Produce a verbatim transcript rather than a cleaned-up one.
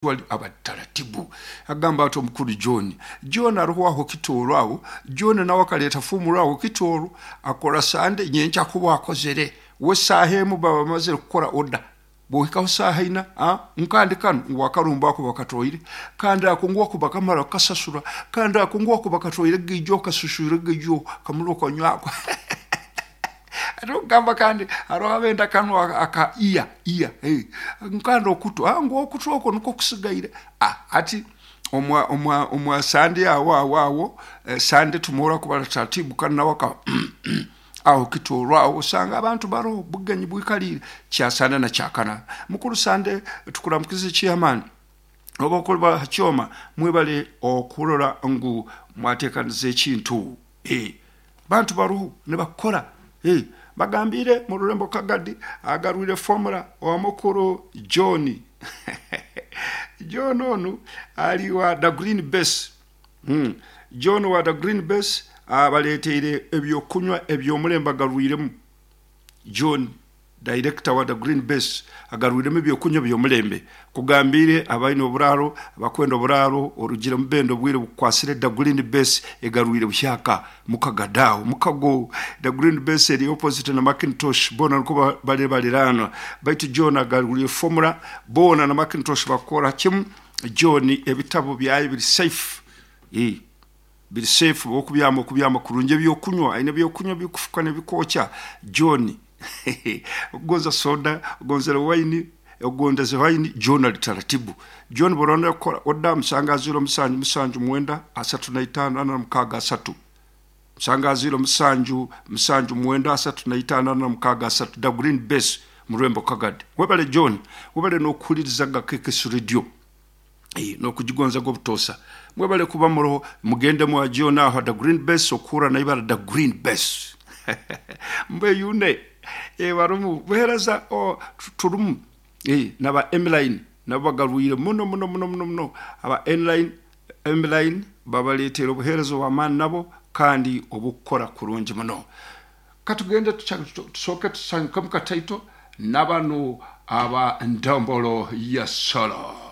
Abataratibu agamba ati omukuru John John aruho aho kitooro aho John nawe akaleeta fumuro aho kitooro akora sande nyenkya kuba akozere we saaha emu baba bamazire kukora oda bwohikaho saaha ina nkandi kanu ngu akarumba ako bakatwaire kandi ako ngu ako bakamara kukasasura kandi ako ngu ako bakatwaire gaijo okasuswire gaijo kamara okanywako ate okugamba kandi haroho abenda kanu aka iya iya nkandi okutu ngu okutu okwo nukwo kusigaire hati omwa omwa omwa sande awo awo awo sande tumora kubara taratibu kandi nawe aka aho kitooro aho osanga abantu baroho bugenyi bwikaliire kyasande na kyakana mukuru sande tukuramukize chairman oba okuba ha kyoma mwebale okurora ngu mwatekaniza ekintu bantu baroho nibakora bagambire mu rurembo Kagadi agarwire formula owa mukuru John John onu ali wa the green base mm. John wa the green base abaleteire ebyokunywa ebyomulembe agarwiremu John director wa the green base agarwiremu ebyokunywa byomulembe kugambire abaine oburaro abakwenda oburaro orugire mubendo obwire bukwasire the green base egarwire buhyaka mukagadaawo mukago the green base eri opposite na Macintosh bona niko bali balirana baitu John agarwire formula bona na Macintosh bakora kimu John ebitabo byayo biri safe eh biri safe okubyama okubyama kurungi ebyokunywa aine ebyokunywa bikufuka nebikokya John ogonza soda ogonzere wine ogondeze wine John ali taratibu John borona kukora oda musanga ziro musanju musanju mwenda asatu na itano ana mukaga asatu musanga ziro musanju musanju mwenda asatu na itano ana mukaga asatu the green base murembo Kagadi webale John webale nokuhulirizaga K K S radio eh nokugigonza go butosa mwebale kuba muroho mugende mwa John aho the green base okura na ibara the green base mbe yune e barumu buhereza o turumu eh naba M-line nabo bagarwire muno muno muno muno muno aba N-line M-line babaletera obuherezo bw'amaani nabo kandi obukora kurungi muno katugende tusoke tusanyuke mu kataito n'abanu aba ndombolo ya solo.